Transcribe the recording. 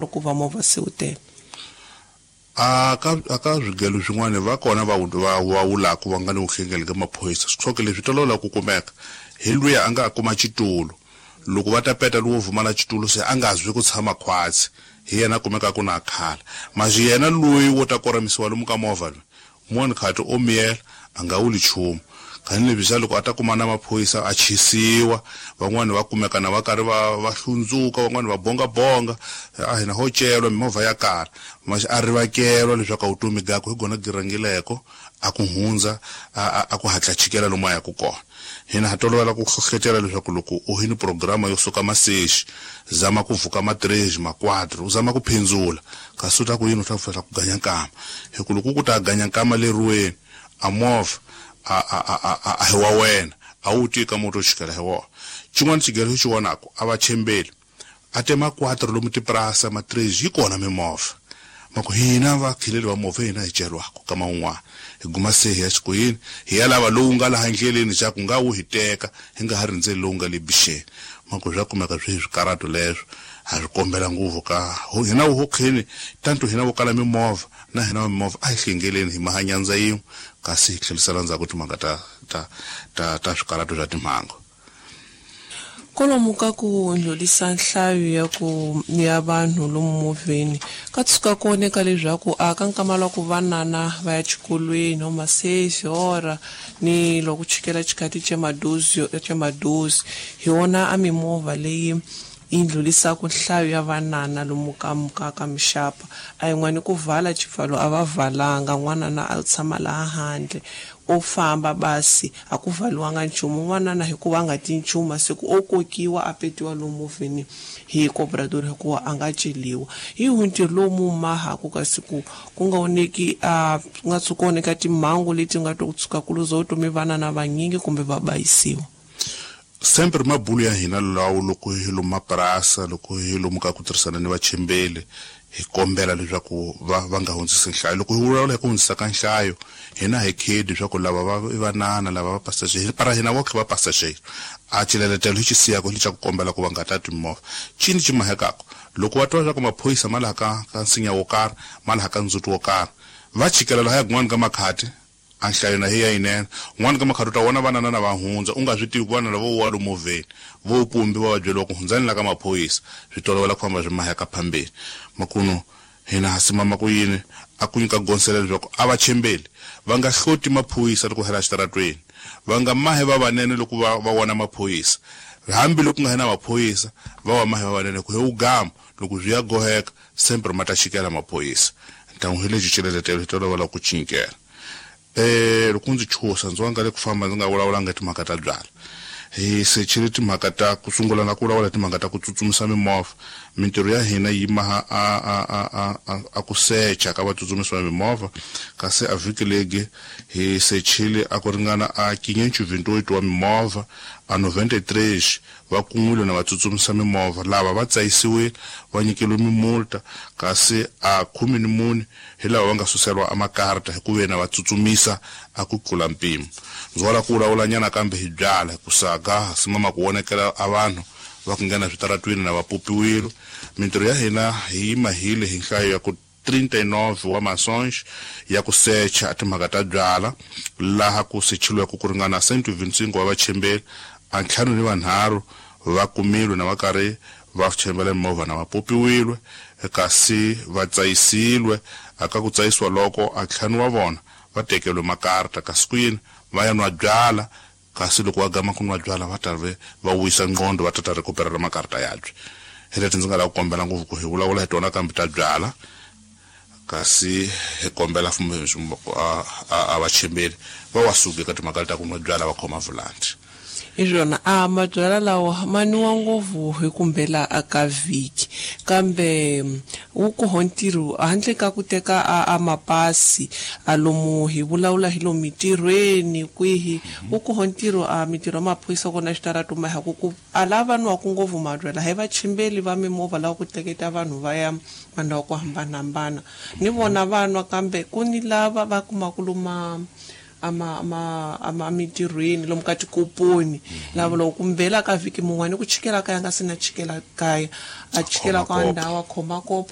Loko va movha se wu tele. A ka a ka swigelo swin'wana va kona va va va wulaku va nga ni vuhlengeli ka maphorisa. Swihloke leswi tolovela ku kumeka hi luya a nga kuma xitulu. Loko va ta peta lowo vumala xitulu se a nga zwi ku tshama khwatsi, hi yena a kumekaku na khala. Maxi yena loyi wo ta koramisiwa lomu ka movha loyi, Un'wana khati o miyela, a nga vuli nchumu. Kani lebyi xa loko a ta kuma na maphorisa a chisiwa, van'wana va kumeka na va karhi va va hlundzuka, van'wana va bongabonga, a hina ho celwa mimovha ya kala. Maxi a rivakelwa leswaku a vutomi gakwe hi gona byi rhangileko, a ku hundza a a ku hatla chikela lomu a yaku kona. Hina ha tolovela ku hlohletela leswaku loko u hi ni programa yo suka masexi, zama ku vuka ma três, ma quatro, u zama ku phindzula, kasi u ta ku yini u ta ku ganya nkama. Hi ku loko ku ta ganya nkama leriweni, a movha a a a a a hi wa wena, a wu tivi ka moto chikela hi wona. Xin'wana xigelo xi vonaku a va chembeli, a te ma quatro lomu tipurasa ma três yi kona mimovha. Ma ku hina vakhileli va movha hina hi celwako kama un'wana hi guma se hi ya xikoyini hi ya lava lowu nga laha ndleleni xa ku nga wu hi teka hi nga ha rindzeli lowu nga le bixeni. Ma ku swa kumeka swi hi swikarhato leswo ha swi kombela ngopfu ka hina vo kheni tanto hina vo kala mimovha na hina va mimovha a hi hlengeleni hi maha nyandza yin'we kasi hi tlherisela ndzhaku timhaka ta ta ta ta swikarhato swa timhangu. Kwalomu ka ku ndlhulisa nhlayo ya ku ya vanhu lomu movheni ka tshuka ku oneka leswaku a ka nkama lwa ku vanana va ya xikolweni o ma-seis hora ni loko chikela xikati xa madozi xa madozi hi wona a mimovha leyi yi ndlhulisaka nhlayo ya vanana lomu ka ka ka mixapa a yin'wani ku vala xipfalo a va valanga n'wanana a tshama laha handle o famba basi a ku valiwanga nchumu n'wanana hikuva a nga ti nchumu masiku o kokiwa a petiwa lomu movheni hi cobrador hikuva a nga celiwa hi hu ntirho lowu mu mahaku kasi ku ku nga oneki a ku nga tshuka oneka timhangu leti nga to tshuka ku luza vutomi vanana vanyingi kumbe va bayisiwa. Sempre mabulu ya hina lawo loko hi lomu mapurasa loko hi lomu ka ku tirhisana ni vachembeli hi kombela leswaku va va nga hundzisi nhlayo. Loko hi vulavula hi ku hundzisa ka nhlayo hina hi khedi leswaku lava va i vanana lava va passager para hina voxe va passager a xileletelo hi xi siyaka hi xa ku kombela ku va nga tati mimovha. Cini xi mahekaka loko va twa leswaku maphorisa ma laha ka ka nsinya wo karhi ma laha ka ndzhuti wo karhi va chikela lahaya kun'wana ka makhati a nhlayo na hi ya yinene. Un'wana ka makhati u ta vona vanana na va hundza u nga swi tivi ku vana lava vo wa lomu movheni vo pumbi va va byeriwa ku hundzani la ka maphorisa swi tolovela ku famba swi maheka phambeni. Makunu hina ha simama ku yini a ku nyika gonsela leswaku a va chembeli va nga hloti maphorisa loko hela xitaratweni va nga mahe va vanene loko va va vona maphorisa hambi loko nga hena maphorisa va wa mahe va vanene ku he wu gama loko swi ya goheka sempre ma ta chikela maphorisa ntangu hi lexi xileletelo hi tolovela ku cinkela. Loko ndzi chusa ndzi wanga le ku famba ndzi nga vulavulanga hi timhaka ta byala hi sechile timhaka ta ku sungula na ku vulavula hi timhaka ta ku tsutsumisa mimovha. Mintirho ya hina yi maha a a a a a a ku secha ka vatsutsumisi va mimovha kasi a vhiki legi hi sechile a ku ringana a 528 wa mimovha a 93 va kun'wile na vatsutsumisa mimovha lava va tsayisiwile va nyikeliwe mimulta kasi a 14 hi lava va nga suseriwa a makarta hi ku ve na va tsutsumisa a ku tlula mpimo. Ndzi wala ku vulavula nyana kambe hi byala hi ku saga simama ku vonekela a vanhu va ku nghena switaratwini na va popiwile. Mintirho ya hina hi yi mahile hi nhlayo ya ku 39 wa masonge ya ku secha a timhaka ta byala laha ku sechiliweke ku ringana 125 wa vachembeli a 53 va kumilwe na va karhi va chembela mimovha na va popiwilwe kasi va tsayisilwe aka ku tsayisiwa loko a ntlhanu wa vona va tekeriwe makarta kasi ku yini va ya nwa byala kasi loko va gama ku nwa byala va ta ve va wisa nqondo va ta ta recuperela makarta yabye. Hi leti ndzi nga lava ku kombela ngopfu ku hi vulavula hi tona kambe ta byala kasi hi kombela a vachembeli va wa suki ka timhaka ta ku nwa byala va khoma vulanti. Hi swona a mabyala lawa ma nwiwa ngopfu hi kumbela a ka vhiki kambe wu koho ntirho handle ka ku teka a, a mapasi a lomu hi vulavula hi lomu mitirhweni kwihi wu koho ntirho a mitirho ya maphorisa kona xitarato ma haku ku a lava nwaku ngopfu mabyala hi vachimbeli va mimovha lava ku teketa vanhu va ya mandhawu ku hambanahambana ni vona va nwa kambe ku ni lava va kumaku luma ama ama ama emitirhweni lomu ka tikoponi lava loko kumbela ka vhiki mun'wani ku chikela kaya nga se na chikela kaya a chikela ka ndhawu a khoma kopo.